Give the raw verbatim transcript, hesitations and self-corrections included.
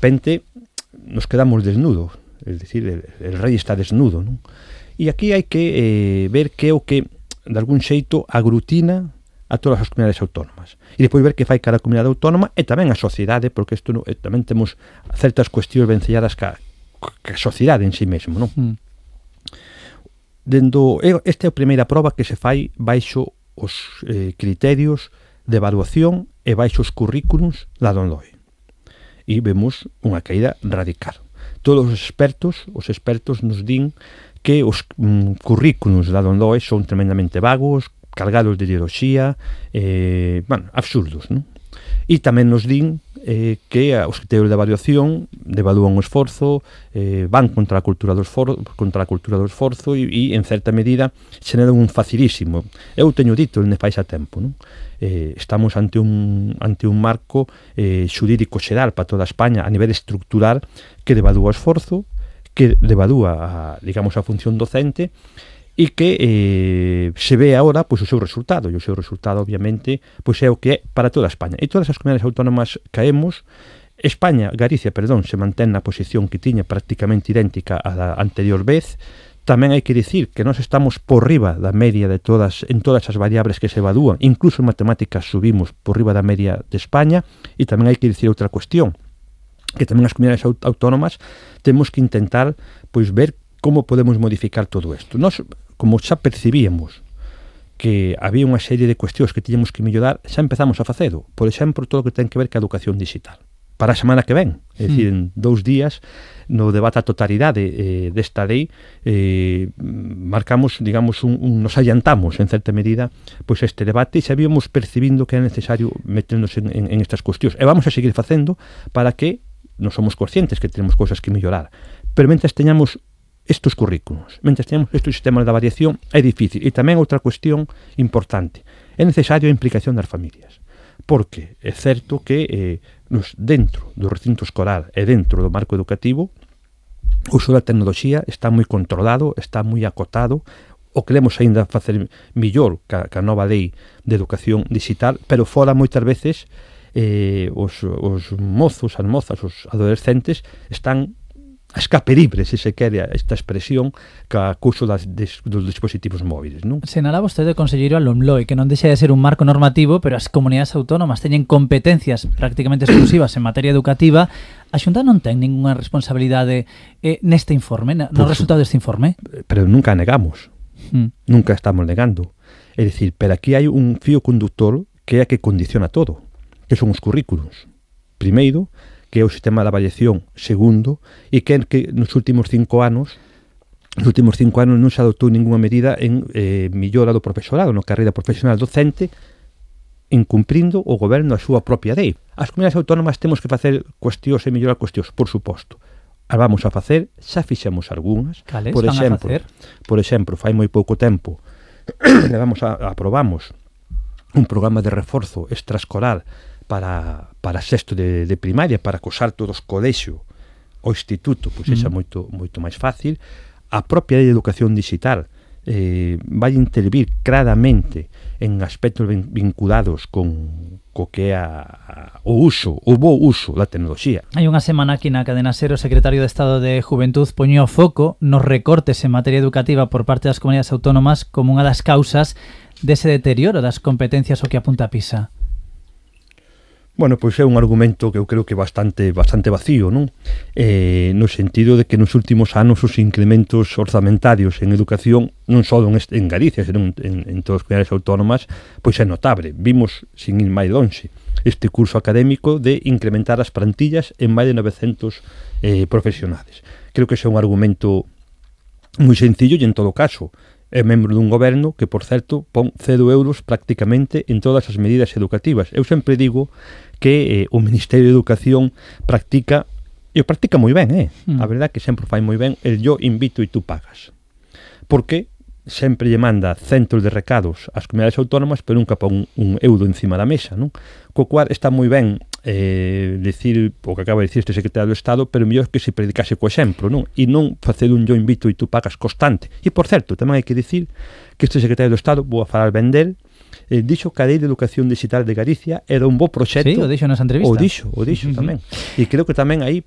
repente nos quedamos desnudos, es decir, el, el rei está desnudo, non? E aquí hai que eh, ver que é o que, de algún xeito, aglutina a todas as comunidades autónomas. E depois ver que fai cada comunidade autónoma e tamén a sociedade, porque isto no, eh, tamén temos certas cuestións vencelladas ca, ca sociedade en si mesmo, non? Mm. Dendo, esta é a primeira proba que se fai baixo os eh, criterios de evaluación e baixo os currículums da Lomloe. E vemos unha caída radical. Todos os expertos, os expertos nos din que os mm, currículums da Lomloe son tremendamente vagos, cargados de ideoloxía, eh, bueno, absurdos, non? E tamén nos din eh, que os criterios de evaluación devalúan o esforzo, eh, van contra a cultura do esforzo, contra a cultura do esforzo e, e en certa medida xeneran un facilísimo. Eu teño dito ne fai xa tempo, non? Eh, estamos ante un ante un marco eh, xurídico xeral para toda España a nivel estructural que devalúa o esforzo, que devalúa a, digamos, a función docente e que eh, se ve agora pois, o seu resultado, e o seu resultado obviamente pois, é o que é para toda España, e todas as comunidades autónomas caemos. España, Galicia, perdón, se mantén na posición que tiña prácticamente idéntica á da anterior vez. Tamén hai que dicir que nós estamos por riba da media de todas, en todas as variables que se evalúan, incluso en matemáticas subimos por riba da media de España. E tamén hai que dicir outra cuestión, que tamén as comunidades autónomas temos que intentar pois ver como podemos modificar todo isto. Nós, como xa percibíamos que había unha serie de cuestións que tiñamos que mellorar, xa empezamos a facelo. Por exemplo, todo o que ten que ver ca educación digital. Para a semana que ven, é dicir, en dous días, no debate a totalidade eh, desta lei, eh, marcamos, digamos, un, un, nos adiantamos, en certa medida, pois este debate, e sabíamos percibindo que era necesario meternos en, en, en estas cuestións. E vamos a seguir facendo para que non somos conscientes que tenemos cousas que mellorar. Pero mentres teñamos estos currículos, mentre teñamos estes sistemas de variación, é difícil. E tamén outra cuestión importante, é necesario a implicación das familias, porque é certo que eh, nos, dentro do recinto escolar e dentro do marco educativo o uso da tecnoloxía está moi controlado, está moi acotado. O queremos aínda facer millor ca, ca nova lei de educación digital, pero fora moitas veces eh, os, os mozos, as mozas, os adolescentes están a escape libre, se se quere esta expresión, ca couso das, des, dos dispositivos móviles, non? Senala vostede, conselleiro, a Lomloe, que non deixa de ser un marco normativo, pero as comunidades autónomas teñen competencias prácticamente exclusivas en materia educativa. A Xunta non ten ninguna responsabilidade eh, neste informe, no pues, resultado deste informe? Pero nunca negamos, mm. nunca estamos negando. É dicir, pero aquí hai un fío conductor que é a que condiciona todo, que son os currículos. Primeiro, que é o sistema de avaliación. Segundo, e que, que nos últimos cinco anos nos últimos cinco anos non se adoptou ninguna medida en eh, millora do profesorado, na carreira profesional docente, incumprindo o goberno a súa propia lei. As comunidades autónomas temos que facer cuestións e mellorar cuestións, por suposto. As vamos a facer, xa fixemos algunhas. Cales por van exemplo, a facer? Por exemplo, fai moi pouco tempo levamos a, aprobamos un programa de reforzo extraescolar para, para sexto de, de primaria, para acosar todos colexio o instituto, pois é moito, moito máis fácil. A propia lei de educación digital eh, vai intervir claramente en aspectos vinculados con co que é a, a, o uso, o bo uso da tecnoloxía. Hai unha semana aquí na cadena SER o secretario de Estado de Juventud poñía o foco nos recortes en materia educativa por parte das comunidades autónomas como unha das causas dese deterioro das competencias o que apunta a PISA. Bueno, pois é un argumento que eu creo que bastante bastante vacío, non? Eh, no sentido de que nos últimos anos os incrementos orzamentarios en educación, non só en, en Galicia, senón en, en todas as comunidades autónomas, pois é notable. Vimos, sin ir máis lonxe, este curso académico de incrementar as plantillas en máis de novecentos eh, profesionales. Creo que ese é un argumento moi sencillo e, en todo caso, é membro dun goberno que, por certo, pon cero euros prácticamente en todas as medidas educativas. Eu sempre digo que eh, o Ministerio de Educación practica, e o practica moi ben, eh? Mm. A verdade que sempre fai moi ben el yo invito e tú pagas. Porque sempre lle manda centos de recados ás comunidades autónomas, pero nunca pon un, un euro encima da mesa, non? Co cual está moi ben eh, decir o que acaba de dicir este secretario do Estado, pero mellor que se predicase co exemplo, non? E non facer un yo invito e tú pagas constante. E, por certo, tamén hai que dicir que este secretario do Estado, vou a falar ben del, eh, dixo que a Lei de Educación Digital de Galicia era un bo proxecto. Sí, o dixo nas entrevistas. O dixo, o dixo uh -huh. tamén. E creo que tamén aí